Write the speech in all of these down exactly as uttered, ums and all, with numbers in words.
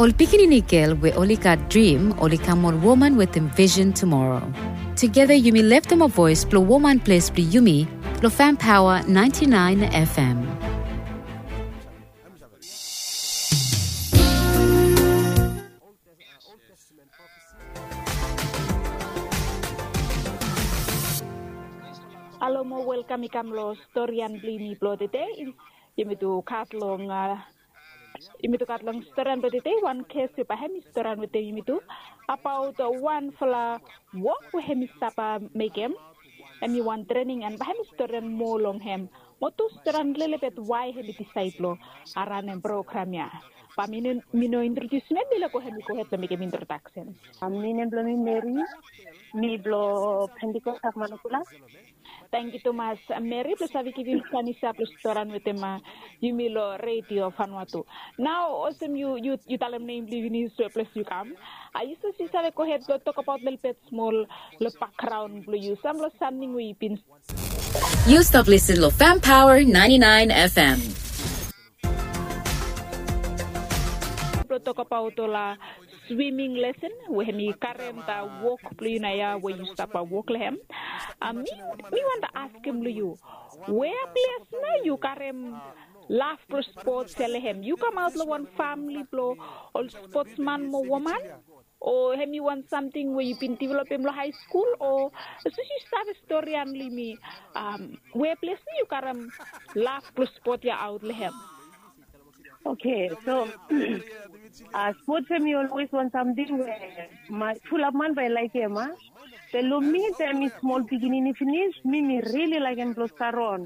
Ol pikinini gel we oli gat drim oli kam ol woman wetem vision tumoro. Tugeta yumi leftem ol voes blong woman ples blong yumi long Fam Paoa ninety-nine F M. Halo mo welkam i kam long storian blong yumi blong tede. Yumi tu gat long a, yumi tu gat long storian blong tede wan kes we bae hem i storian wetem yumi tu abaot wanfala wok we hem i stap mekem. Hem i wan trening an bae hem i storian moa long hem. Mo tu storian lelebet wae hem i disaed blong ranem program ya. Bae mi no, mi no introdiusim hem, mi laik go hem i gohed blong mekem introdaksen. Mi nem blong mi Meri, mi blong Pentecost Akmanakula. Tangkiu tumas Meri blong save givim sanisa blong storian wetem yumi long redio Vanuatu. Nao olsem yu, yu, yu talem nem blong yu finis we ples yu kam. A yu save, yu save gohed blong tokbaot lelebet smol long bakgraon blong yu, sam long samting we yu bin. Yu stap lisin long Fam Paoa ninety-nine F M. Blong tokbaot ol a swiming lesen we hem i karem da wok blong yu naoia we yu stap wok long hem. A mi, mi wanta askem long yu, wea ples nao yu karem laf blong spots ya long hem? Yu kamaot long wan famle blong ol spotsman mo woman? O hem i wan samting we yu bin developem long haeskul? O sapos yu save storian long yumi, wea ples nao yu karem laf blong spot ya aot long hem? Oke, so a, spots hem i olwes wan samting we fulap man bae i laekem, a. Be long mi, taem mi smol pikinini finis, mi, mi rili laekem blong stap ron.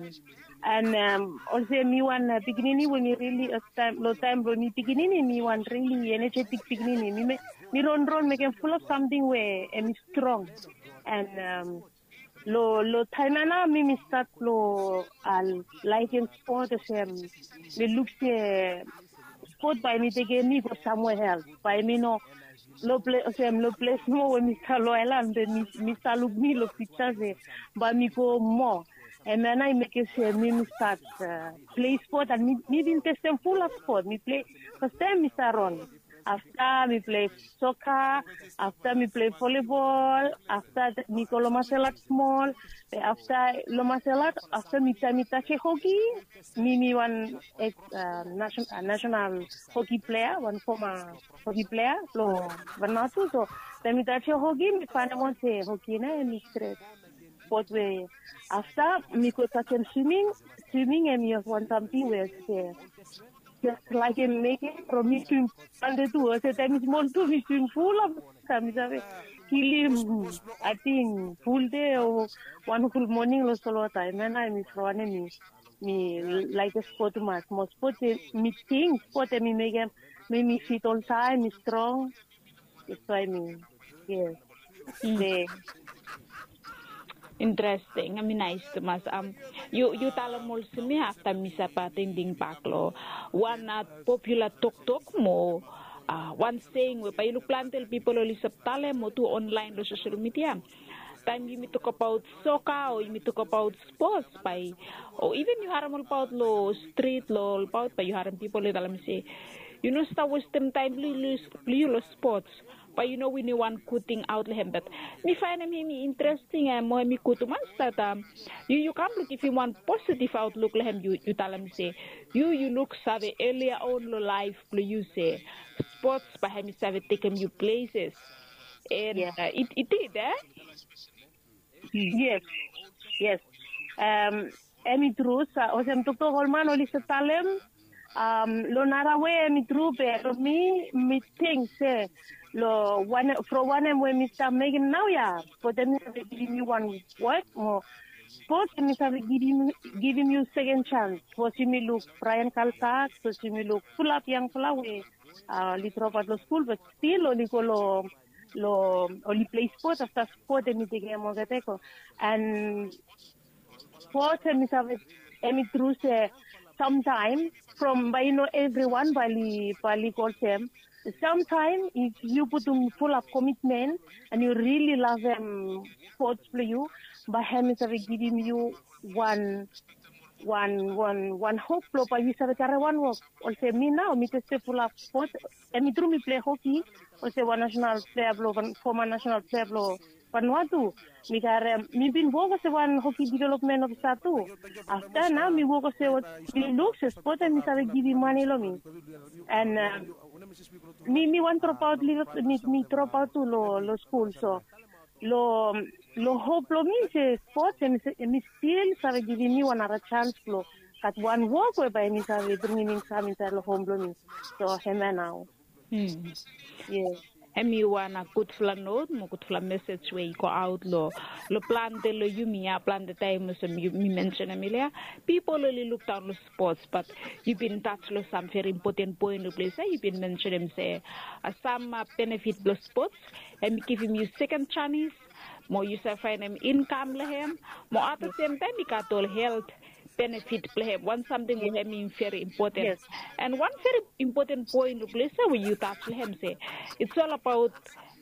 An olsem mi wan pikinini we mi rili, long taem blong mi pikinini, mi wan rili enejetik pikinini. Mi, mi ronron mekem fulap samting we hem i strong. An long, long taem ya nao mi, mi stat long laekem spot olsem mi luk se spot bae mi tekem mi go samwea els. Bae mi no long ples, olsem long ples nomo we mi stap long aelan, be mi, mi stap luk mi long piksa se bae mi go moa. Hemia nao i mekem se mi, mi stat plei spot, an mi, mi bin testem fulap spot. Mi plei, fastaem mi stap ron. Afta mi plei soka, afta mi plei volibol, afta mi go long masel at smol, afta long masel at, afta mi, taem mi tajem hoki, mi, mi wan eks, a, nasenal hoki plea, wan foma hoki plea blong Vanuatu. So taem mi tajem hoki, mi faenem aot se hoki nao hem i stret spot we afta mi go tajem swiming. Swiming hem i wan samting we se jes laekem mekem from mi swim plante tu. Olsem taem mi smol tu mi swim fulap, taem mi save kilim ating fuldei o wan hol moning long solwota. Hemia nao mi wanem, mi, mi laekem spot tumas. Mo spot, mi ting spot hem i mekem mi, mi fit oltaem, mi strong. That's why mi, yes. Interesting, hem i naes tumas. Yu, yu talem olsem ya afta mi stap atendim bak long wan popula toktok mo wan seing we bae yu luk plante ol pipol oli stap talem mo tu onlaen long sosel midia. Taem yumi tokbaot soka o yumi tokbaot spots bae, o iven yu harem olbaot long strit, long olbaot bae yu harem pipol i talem se yu no stap westem taem blong yu long spots. Bae yu no winim wan gud ting aot long hem. Bat mi faenem hem i interesting, mo hem i gud tumas dat yu, yu kam blong givim wan positiv aotluk long hem. Yu, yu talem se yu, yu luksave elia on long laef blong yu se spots bae hem i save tekem yu pleses. An i did, e? Yes, yes. Hem i tru, olsem toktok ol man oli stap talem long nara wei, hem i tru, be long mi, mi ting se long wanem, from wanem we mi stap mekem naoia, spot hem i save givim yu wan wok mo spot hem i save givim, givim yu seken jans. Sapos yumi luk Brian Kaltak, sapos yumi luk fulap yangfala we oli dropaot long skul be stil oli go long, long, oli plei spot, afta spot hem i tekem olgeta go. An spot hem i save, hem i tru se samtaem, from bae i no evriwan bae oli, bae oli go olsem. Samtaem if yu putum fulap komitmen an yu rili lavem spots blong yu, bae hem i save givim yu wan wan wan wan hop blong bae yu save traem wan wok. Olsem mi nao mi testem fulap spot. Em i tru mi pilai hoki olsem wan nasenal plea blong foma nasenal plea blong Vanuatu. Mi karem mi bin wok olsem wan hoki developmen ofisa tu. Afta nao mi wok olsem mi luk se spot em i save givim mane long mi. And mi mi wan dropaut lilo mi mi dropaut tu long long skul. So long long hop blong mi se spot em i stil save givim mi wan nara sans blong gat wan wok we bae em i save bringim inkam insaed long hom blong mi. So hemia nao. Yes. Em i wan gudfala not mo gudfala mesej we i go aut long long plante long yumi ya plante taim olsem mi mensenem elia. Pipol oli lukdaun long spots bat yu bin tas long sam veri impoten poen long ples ya yu bin mensenem se sam benefit blong spots em i givim yu seken janis mo yu save faenem inkam long hem mo at the sem taim i gat ol helt benefit blong hem wan samting we hem i veri impoten. An wan veri impoten poen long ples ya we yu tas long hem se it's ol abaut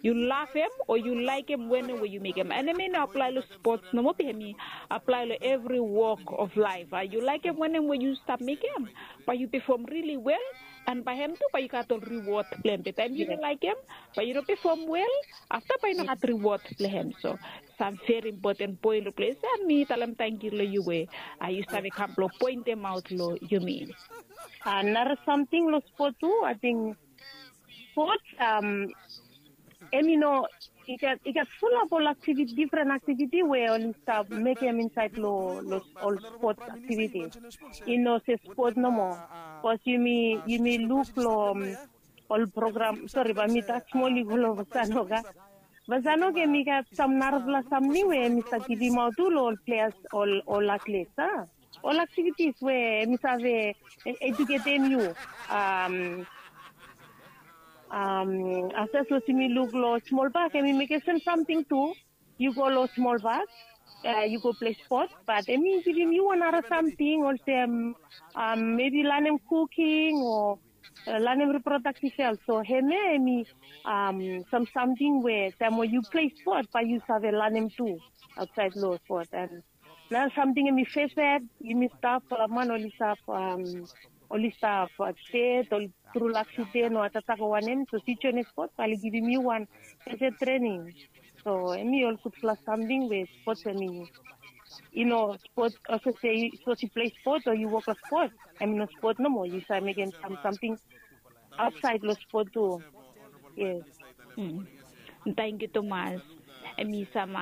yu lavem o yu laikim wanem we yu mekim an em i no aplai long spots nomo be hem i aplai long evri wok of laif. Yu laikim wanem we yu stap mekim bae yu pefom rili wel an bae hem tu bae yu gat ol riwod blong hem be taim yu no laikim bae yu no pefom wel afta bae yu no gat riwod blong hem. So sam veri impoten poen long ples ya mi talem tangkiu long yu we yu save kam blong pointemaot long yumi. Nara samting long spot tu ating spot em i no i gat fulap ol aktiviti difren aktiviti we oli stap mekem insaed long ol spot aktiviti. I no se spot nomo bikos yumi yumi luk long ol program sori bae mi tas smol i go long vasanoka. Vasanoka em i gat sam narafala samting we em i stap givimaot tu long ol pleas ol ol atlet a ol aktivitis we em i save ejuketem yu. Afta sapos yumi luk long smol bak em i mekem sem samting tu. Yu go long smol bak yu go plei spot bat em i givim yu wan nara samting olsem mebi lanem kuking o lanem riprodaktiv helt. So hemia em i sam samting we taem we yu plei spot bae yu save lanem tu aotsaed long spot. An nara samting em i fesed yumi stap ol man oli stap oli stap stet ol tru laksiten o atatako wanem so si join spot bae oli givim yu wan fesed trening. So em i ol gudfala samting we spot em i i no spot olsem se sapos yu plei spot o yu wok long spot em i no spot nomo yu save mekem sam samting aotsaed long spot tu. Yes. Tangkiu tumas. Em i sam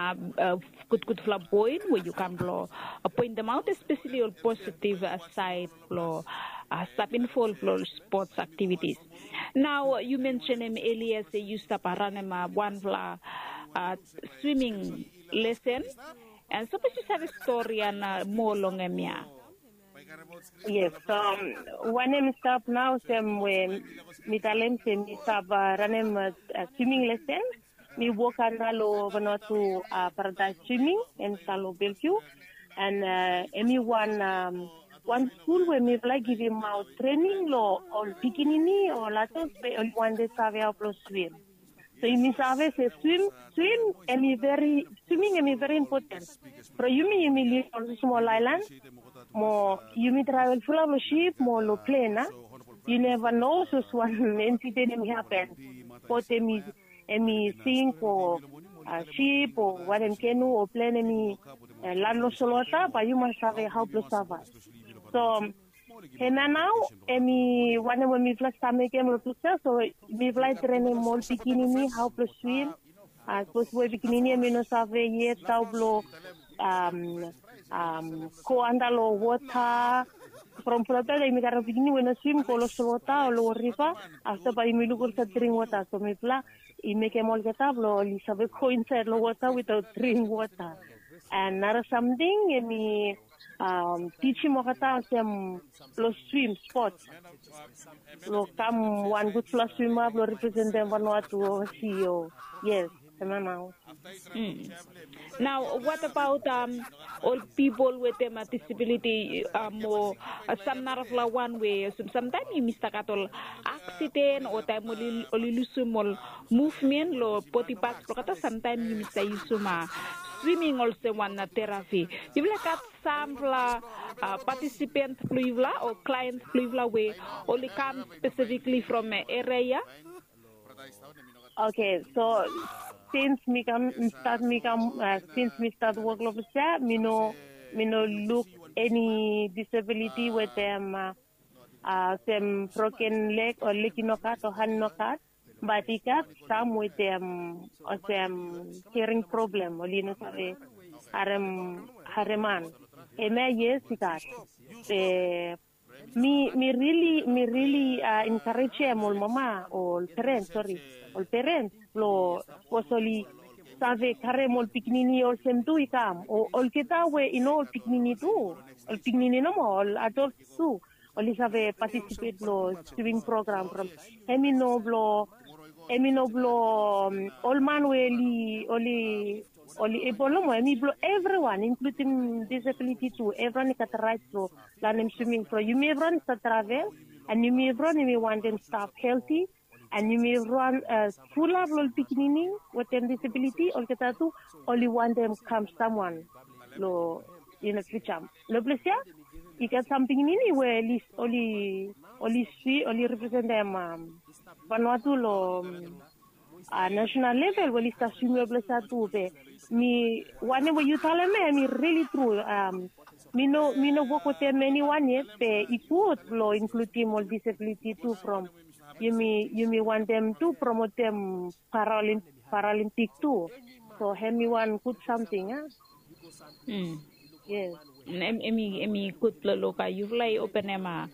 gudgudfala poen we yu kam blong pointemaot espeseli ol positiv saed blong stap involv long ol spots aktivitis. Nao yu mensenem elia se yu stap ranem wanfala swiming lesen. An sapos yu save stori ya na moa long em ya. Yes. Wanem i stap nao olsem we mi talem se mi stap ranem swiming lesen. Mi wok anda long Vanuatu Paradise Swimming em i stap long Belgiu. An em i wan wan skul we mifala i givimaot trening long ol pikinini o ol adol we oli wantem save hao blong swim. So yumi save se swim swim em i veri swiming em i veri impoten. From yumi yumi liv long smol aelan mo yumi travel fulap long sip mo long plen a yu neva no sapos wan ensiden em i hapen. Bot em i em i sink o sip o wanem kenu o plen em i lan long solwota bae yu mas save hao blong savaev. So hemia nao em i wanem we mifala stap mekem long ples ya so mifala i trenem ol pikinini hao blong swim. Sapos we pikinini em i no save yet hao blong go anda long wota. From fulap taem yumi karem pikinini we no swim go long solwota o long riva afta bae yumi luk olsem dring wota so mifala i mekem olgeta blong oli save go insaed long wota witaot dring wota. An nara samting em i tijim olgeta olsem blong swim spot blong kam wan gudfala swima blong representem Vanuatu ovasi o. Yes. Hemia nao. Nao, what about ol pipol wetem disabiliti mo sam narafala wan we olsem samtaem yumi stap gat ol aksiden o taem oli lusum ol muvmen long bodi pats blong olgeta, samtaem yumi stap yusum swiming olsem wan terapi. Yufala gat samfala patisipens blong yufala o klaens blong yufala we oli kam spesifikli from eria ya? Okay, so since mi kam start mi kam uh, since mi start work lo pisia, mi no mi no look any disability with them uh, uh, them broken leg or leg no cut or hand no cut, but i gat some with them or them hearing problem or you know sorry harem hareman. Eme yes i gat. The Mi mi rili mi rili enkarejem ol mama o ol peren sori ol peren blong sapos oli save karem ol pikinini olsem tu i kam o olgeta we i no ol pikinini tu, ol pikinini nomo ol adols tu oli save patisipet long swiming program from hem i no blong hem i no blong ol man we oli oli oli ebol nomo hem i blong evriwan inkludim disabiliti tu evriwan i gat rait blong lanem swiming from yumi evriwan i stap travel and yumi evriwan yumi wantem stap helti and yumi evriwan fulap long ol pikinini wetem disabiliti olgeta tu oli wantem kam samwan long ina fiuja long ples ya i gat sam pikinini we oli oli swi oli representem vanua tu long a national level we oli stap swim long ples ya tu be mi wanem we yu talem ya mi rili tru mi no mi no wok wetem eniwan yet be i gud long inkludim ol disabiliti tu from yumi yumi wantem tu promotem paralimpik tu so hem i wan gud samting a yes Em em i em i gud blong luk a yufala i openem a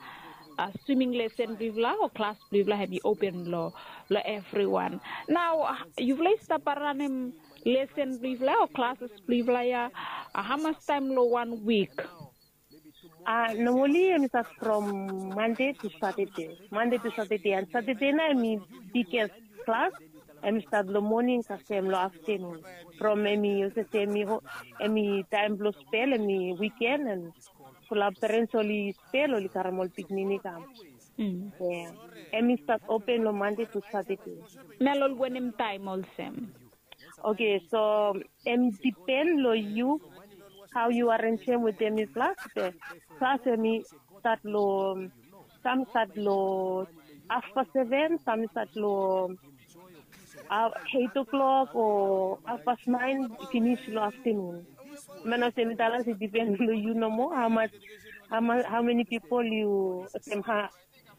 a swimming lesson blong yufala o klas blong yufala hem i open long long evriwan. Nao yufala i stap ranem lesson blong yufala o klases blong yufala ya a hamas taem long wan wik? A normali em i stat from Mande to Satade. Mande to Satade an Satade nao em i biges klas. Em i stat long moning kasem long aftenun. From em i olsem se em i taem blong spel em i wiken an fulap perens oli spel oli karem ol pikinini i kam. Em i stat open long Mande to Satade. Na long wanem taem olsem? Oke, so em dipen long yu hao yu arenjem wetem yufala be klas em i stat long sam i stat long afpa seven, sam i stat long eit o'clock o afpa naen finis long aftenun. Mena olsem mi talem se dipen long yu nomo hamas hamas hao meni pipol yu olsem ha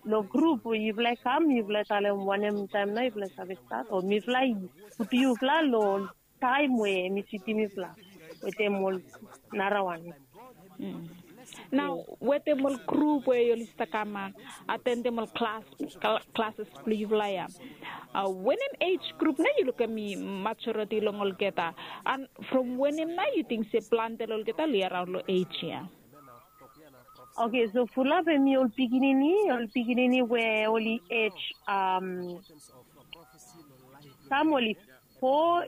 long grup we yufala i kam yufala i talem wanem taem nao yufala i save stat o mifala i putum yufala long taem we mi sitim mifala wetem ol narawan. Nao wetem ol grup we yuli stap kam atendem ol klas klases blong yufala ya, wanem ej grup nao yu lukim i majoriti long olgeta an from wanem nao yu ting se plante long olgeta oli araon long ej ya? Oke, so fulap em i ol pikinini ol pikinini we oli ej sam oli fo,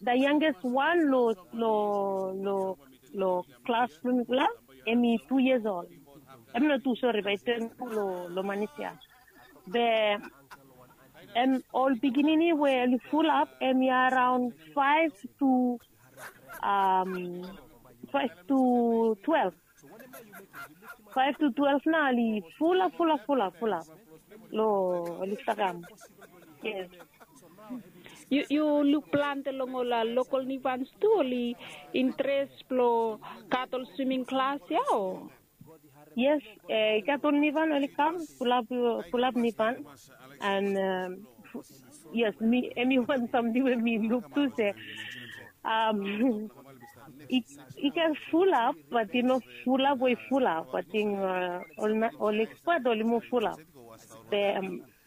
the youngest one lo lo lo lo klas blong mifala em i tu years old. Em no tu sori bai ten tu lo lo manis ya. Be em ol pikinini we oli fulap em i araon five to um five to twelve. Five to twelve nao oli fulap fulap fulap fulap lo oli stap kam. Yes. Yu yu luk plante long ol lokol nivans tu oli interes blong gat ol swiming klas ya o? Yes, i gat ol nivan oli kam fulap fulap nivan. And yes, mi em i wan samting we mi luk tu se um i i ken fulap bat i no fulap we i fulap ating ol na ol ekspat oli mo fulap. Be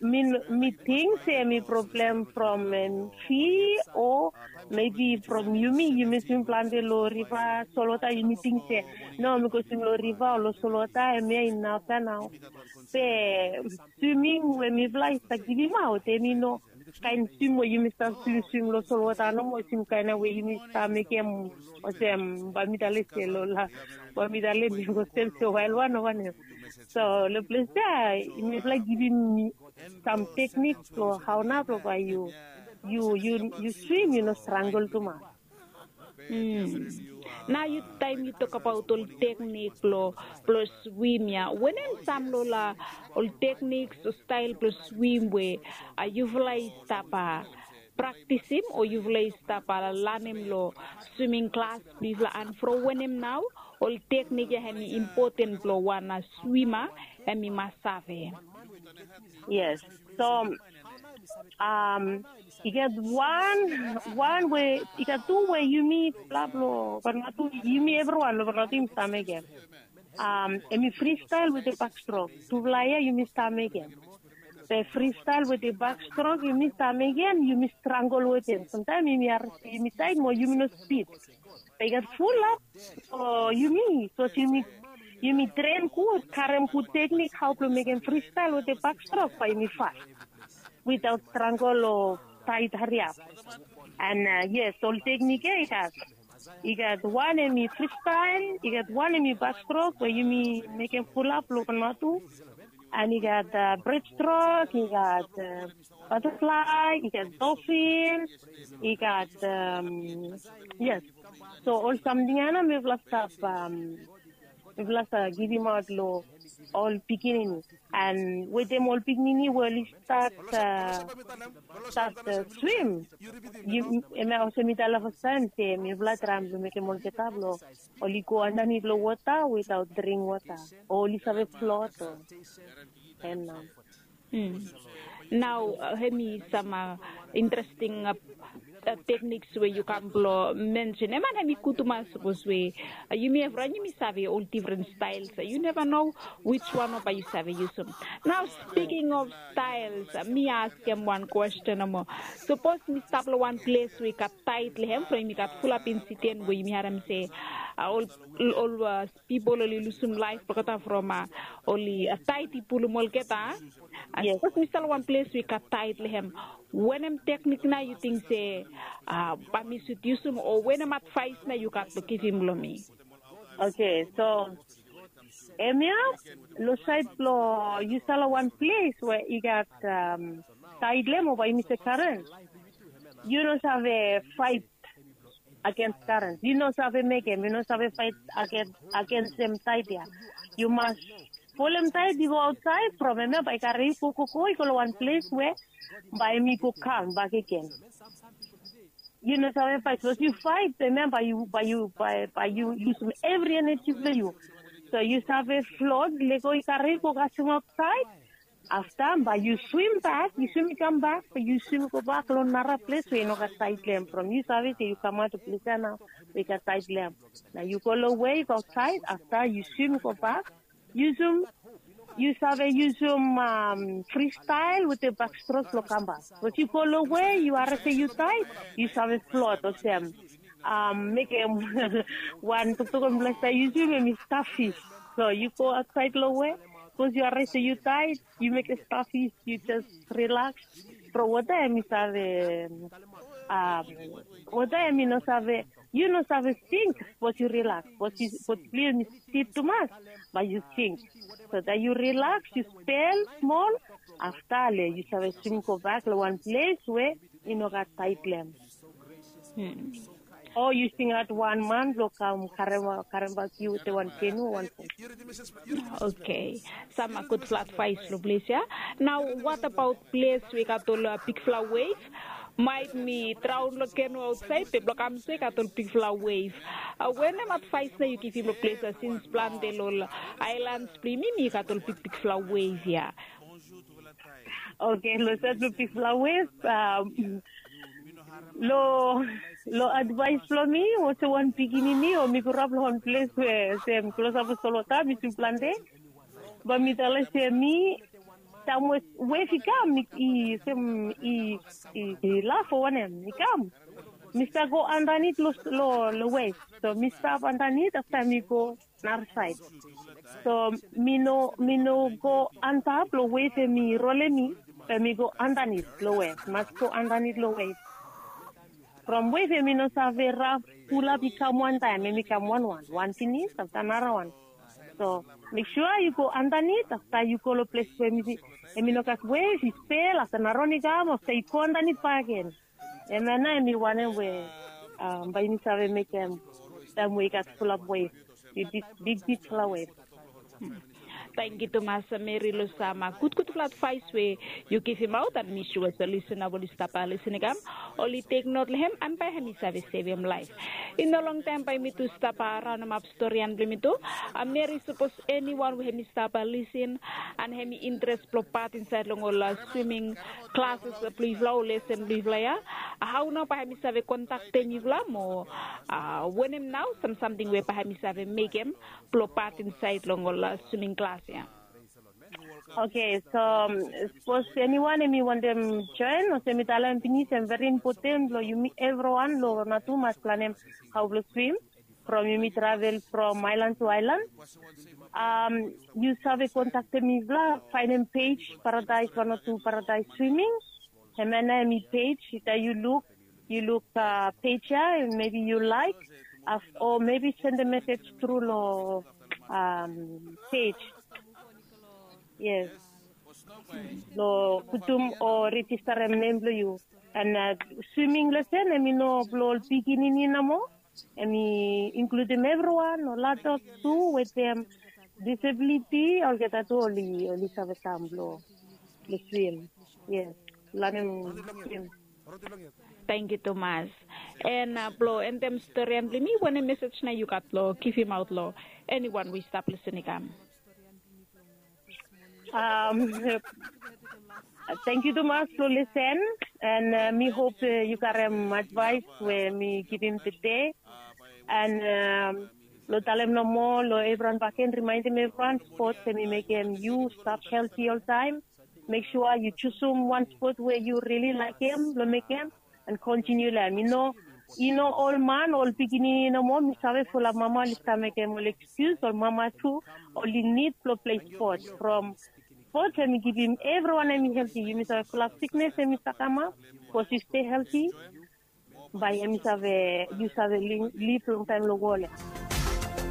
mi mi ting se mi problem from em fi o maybe from yumi yumi swim plante lo riva solwata yumi ting se no mi go swim lo riva o lo solwata em ya inaf ya nao. Be swimming we mifala i stap givimaot em i no kaen swim we yumi stap swimswim long solwota nomo, swim kaen we yumi stap mekem olsem, bae mi talem se long la, bae mi talem mi go sem se wael wan o wanem. So long ples ya mifala givim sam teknik blong hao nao blong bae yu yu yu yu swim, yu no strangel tumas. Nao yu, taem yu tokbaot ol teknik blong blong swim ya, wanem sam long ol teknik o stael blong swim we yufala i stap praktisim o yufala i stap lanem long swiming klas blong yufala, and from wanem nao ol teknik ya hem i impoten blong wan swima hem i mas save? Yes. So um, i gat wan wan we i gat tu we yumi pla blong Vanuatu, yumi evriwan long Vanuatu yumi stap mekem. Um, hem i fristael wetem bakstrok. Tufala ya yumi stap mekem. Be fristael wetem bakstrok yumi stap mekem, yumi strangel wetem. Samtaem yumi harim se yumi taet mo yumi no spid. Be i gat fulap o yumi, sapos yumi yumi tren gud, karem gud teknik hao blong mekem fristael wetem bakstrok, bae yumi fas witaot strangel o taet hariap. And yes, ol teknik ya i gat i gat wan hem i fristael, i gat wan hem i bakstrok we yumi mekem fulap long Vanuatu. And i gat bredstrok, i gat bataflae, i gat dolfin, i gat, yes. So ol samting ya nao mifala stap mifala stap givimaot long ol pikinini. And wetem ol pikinini we oli stat stat swim, hemia olsem mi talem fastaem se mifala traem blong mekem olgeta blong oli go andanit long wota witaot dring wota o oli save flot o. Hem nao. Nao hem i sam interesting tekniks we yu kam blong mensenem, and hem i gud tumas sapos we yumi evriwan yumi save ol difren staels. Yu neva no wiswan o bae yu save yusum. Nao spiking of staels, mi askem wan kwesten nomo. Sapos mi stap long wan ples we i gat taet long hem, from yumi gat fulap insiden we yumi harem se ol ol pipol oli lusum laef blong olgeta from oli taet i pulum olgeta. Sapos mi stap long wan ples we i gat taet long hem, wanem teknik nao yu ting se bae mi sud yusum o wanem advaes nao yu gat blong givim long mi? Oke, so hemia long saed blong yu stap long wan ples we i gat taet long hem o bae yumi se karen, yu no save faet agens karen. Yu no save mekem, yu no save faet agens hem taet ya. Yu mas pulem taet i go aotsaed from hemia bae i kare yu go go go i go long wan ples we bae hem i go kam bak agen. Yu no save faet, sapos yu faet hemia bae yu bae yu bae yu yusum evri eneji blong yu. So yu save flot, lego i kare yu go kasem aotsaed. Afta bae yu swim bak, yu swim i kambak, bae yu swim i gobak long nara ples we i no gat taet long hem from yu save se yu kamaot long ples ya nao we i gat taet long hem. Na yu go long wef aotsaed, afta yu swim i gobak. Yusum yu save yusum fristael wetem bakstrok blong kambak. Sapos yu go long wef yu harem se yu taet, yu save flot olsem mekem wan toktok mifala stap yusum hem i stafis. So yu go aotsaed long wef, sapos yu harem se yu taet, yu mekem stafis, yu jes rilaks. From wota hem i save wota hem i no save, yu no save sink sapos yu rilaks. Sapos yu sapos plis hem i stit tumas, bae yu sink. So taem yu rilaks yu spel smol, afta le yu save swim gobak long wan ples we i no gat taet long hem. O yu singaot wan man blong kam karem karembak yu wetem wan kenu o wan ples. Okei. Sam gudfala advaes long ples ya. Nao, wat abaot ples we i gat ol bigfala wef? Maet mi draon long kenu aotsaed be blong kam so i gat ol bigfala wef. Wanem advaes nao yu givim long ples ya, sins plante long ol aelans blong yumi mi gat ol bigbigfala wef ya? Oke, long saed blong bigfala wef, long long advaes blong mi olsem wan pikinini o mi groap long wan ples we olsem klosap long solwota, mi swim plante. Bae mi talem se mi taem we wef i kam i olsem i i laf o wanem i kam, mi stap go andanit long long wef. So mi stap andanit afta mi go narasaed. So mi no mi no go antap long wef hem i rolem mi. Be mi go andanit long wef, mas go andanit long wef. From wef em i no save raf, pulap i kam wantaem, em i kam wanwan, wan pinis afta narawan. So mek sua yu go andanit, afta yu go long ples we em i no gat wef, i spel, afta narawan i kam, afta yu go andanit bakegen. Em ya nao em i wanem we bae yumi save mekem taem we i gat fulap wef, big bigfala wef. Tangkiu tumas Meri long sam gudgudfala advaes we yu givimaot, an mi sua se lisena we oli stap lisin i kam, oli teknot long hem an bae hem i save sevem laef. I no longtaem bae yumi tu stap raonemap storian blong yumi tu. Meri, sapos eniwan we hem i stap lisin an hem i interes blong pat insaed long ol swiming klases blong yufala o lesen blong yufala ya, hao nao bae hem i save kontaktem yufala mo wanem nao sam samting we bae hem i save mekem blong pat insaed long ol swiming klas ya? Oke, so sapos eniwan hem i wantem joen, olsem mi talem pinis, em veri impoten blong yumi evriwan long natu mas planem hao blong swim from yumi travel from aelan tu aelan. Yu save kontaktem mifala, faenem pej Paradaes, wan o tu Paradaes Swiming. Hemia nao hem i pej, afta yu luk, yu luk pej ya, mebi yu laek, o mebi sendem mesej tru long pej. Yes. Long putum o rejistarem nem blong yu. An swiming lesen hem i no blong ol pikinini nomo. Hem i inkludim evriwan, ol adolts tu wetem disabiliti, olgeta tu oli save kam blong swim. Yes, lanem swim. Tangkiu tumas. An blong endem storian blong yumi, wanem mesej nao yu gat long givimaot long eniwan we i stap lisin i kam? Tangkiu tumas blong lisen, an mi hop yu karem advaes we mi givim tede. An long talem nomo long evriwan bakegen, rimaendem evriwan, spots hem i mekem yu stap helti oltaem. Mek sua yu jusum wan spot we yu rili laekem blong mekem, an kontiniu long hem. I no, i no ol man, ol pikinini nomo. Mi save fulap mama oli stap mekem ol ekskius, ol mama tu oli nid blong plei spot. From spot hem i givim evriwan hem i helti. Yumi save fulap siknes hem i stap kamap. Sapos yu stei helti, bae hem i save, yu save liv longtaem long wol ya.